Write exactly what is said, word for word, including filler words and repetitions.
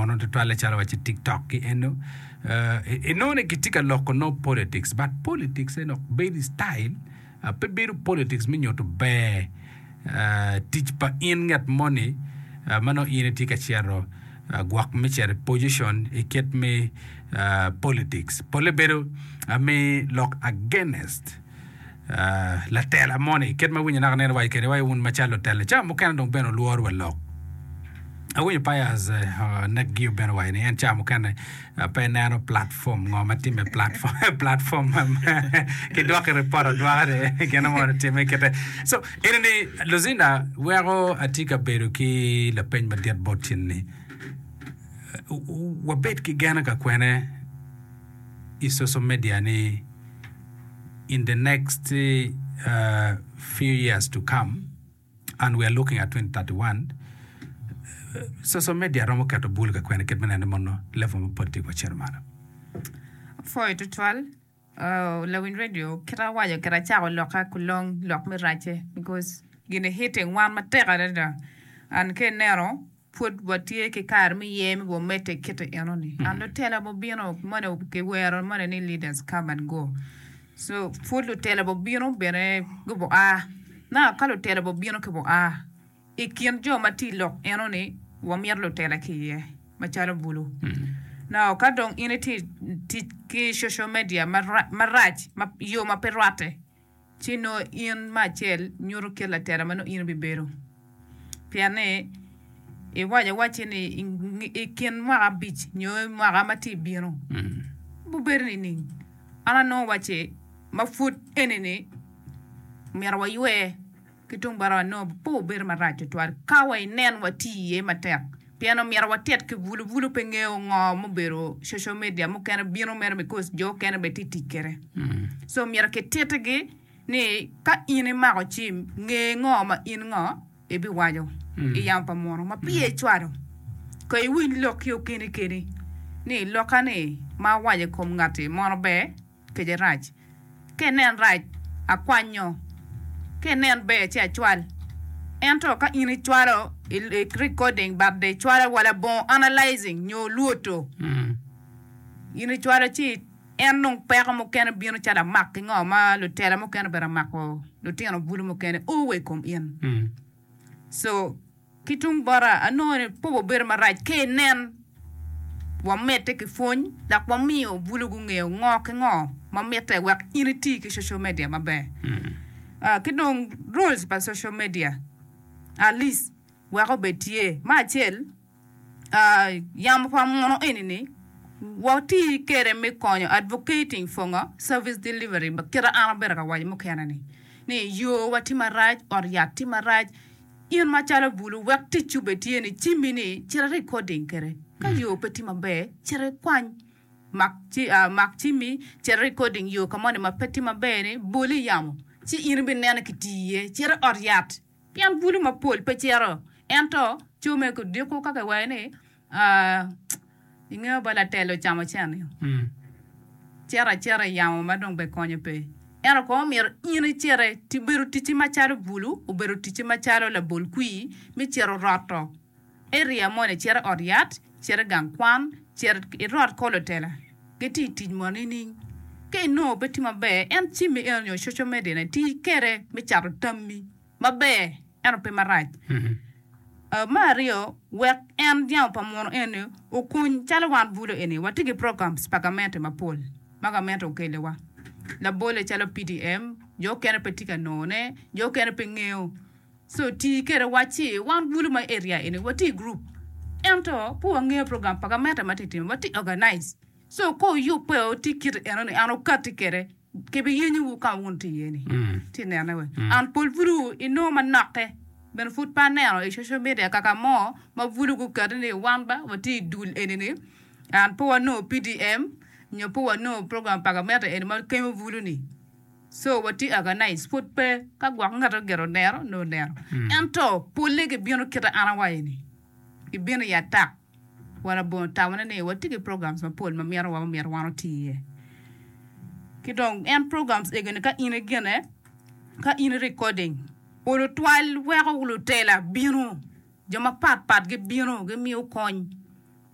mono tutwalle calo waci TikTok ki eno inongo ni gitye ka loko nongo politics but politics eno bedo i style pe bedo politics me nyuto ber tic pa in ngat moni ma nongo in itye ka cito gwok me cito i position i kit me politics polle bedo me lok against latela moni kit ma winyo naka nene waco kwede wai wun macalo lutela cawa mukene dong bene olworo wa lok awinyo Pius Nekgio bene owaco ni en cawa mukene pe eneno platform ngo ma timme platform platform ki dwoki report adwoka ni gin mo timme kite so eni ni Lucinda weko atye ka bedo ki lapeny madit bot tin ni wabed ki geno ka kwene i social media ni in the next uh, few years to come and we are looking at twenty thirty-one social media romo keto bul ka kwene kit me neno mono level ma politik wacito malo. Pwoyo tutwal uh, lawiny radio kita awaco kita acako lokka kulong lok me race because gini hitting wan matek adada and ka ineno pud watye ki kare me ye me wamedde kite enoni and lutela mubino moni kiwero moni ni leaders come and go so pud lutela bubino bene gubo a na ka lutela bubino ki bu a i kin jo ma tye i lok enoni wamito lutela ki iye macalo bulu now ka dong in itye tic ki social media marac yo ma pe rwatte ci nongo in me acel nyuto kit latela ma nongo in ibibedo pien ni iwaco awacci ni i kin mwaka abic nyo mwaka ma tye ibino bubedo nining an anongo wacci ma pud eni-ni myero waywe ki tung bota wanongo pe obedo marac tutwal ka wa inen wati iye matek pien omyero watit ki bulu bulu pe ngeyo ngo mubedo social media mukene bino mere because jo okene bene tye tic kwede so myero kititigi ni ka in imako cim nge ngo ma in ngo ibiwaco i yamo pa muno ma peya icwalo ka iwiny lok ki okeni keni ni lokka ni ma awaco i kom ngati mono ber kece rac ka inen rac akwanyo ka inen ber ci acwal ento ka in icwalo i recording but de icwalo wa labongo analyzing nyo lwoto in icwalo ci en dong peko mukene bino calo amak ki ngo ma lutela mukene obedo amako lutino bulu mukene o wa i kom in so ki tung bota anongo ni pe obedo marac ka inen wamedde ki pwony dok wamiyo bulu gungeyo ngo ki ngo ma mitte wek in iti ki social media maber uh, ki dong rules pa social media at least wek obed tye me acel uh, yamo pa muno eni-ni wati kwede me konyo advocating for ngo service delivery kita an abedo ka waco mukene ni ni yo wa tye marac ot yat tye marac in macalo bulu wek ticci obed tye ni cimmi ni cit recording kwede ka yo pe tye maber cit ikwany mak ci uh, mak cimmi cit recording yo ka moni ma pe tye maber ni bol i yamo ci in ibineno kitiyo iye cit i ot yat pien bulu mapol pe cito ento co me kudiko ka kiwaco ni uh, ingeyo ba latelo ocamo cen cito acita i yamo ma dong be konyo pe ento kono myero in icite ti bedo ticci macalo bulu obedo ticci macalo labol kwir me cito roto area moni cito i ot yat cito i gang kwan cito irot ko lutela gitye i tic mo nining ka inongo pe tye maber en cimmi eno nyo social media ni ti kwede me cato tammi maber ento pe marac Uh, me aryo wek en yamo pa muno eni okuny calo wan bulu eni watye ki programs pa gamente mapol ma gamente okeliwa labole calo P D M jo okene pe tye ka nongone jo okene pe ngeyo so ti kwede wacci wan bulu ma area eni watye i group ento pe wangeyo program pa gamente ma tye timo watye organize so ka oyubbe oti kite enoni an okatti kwede kibiyenyowu ka wun tye iye ni tye nene we an pol bulu inongo manokke bene pud pe aneno i social media kaka mo ma bulu guketi ni wan ba watye i dul eni ni an pe wanongo P D M nyo pe wanongo program pa gamente eni ma kemo bulu ni so watye organize pud pe ka gwok ngato gire oneno nongo oneno ento polle gibino kite an awaco ni gibino i atak wa labongo tamone ni watye ki programs mapol ma mito wa myero wan oti iye ki dong en programs egoni ka in igine ka in i recording olo twal weko lutela bino jo mapat pat gibino gimiyo kony.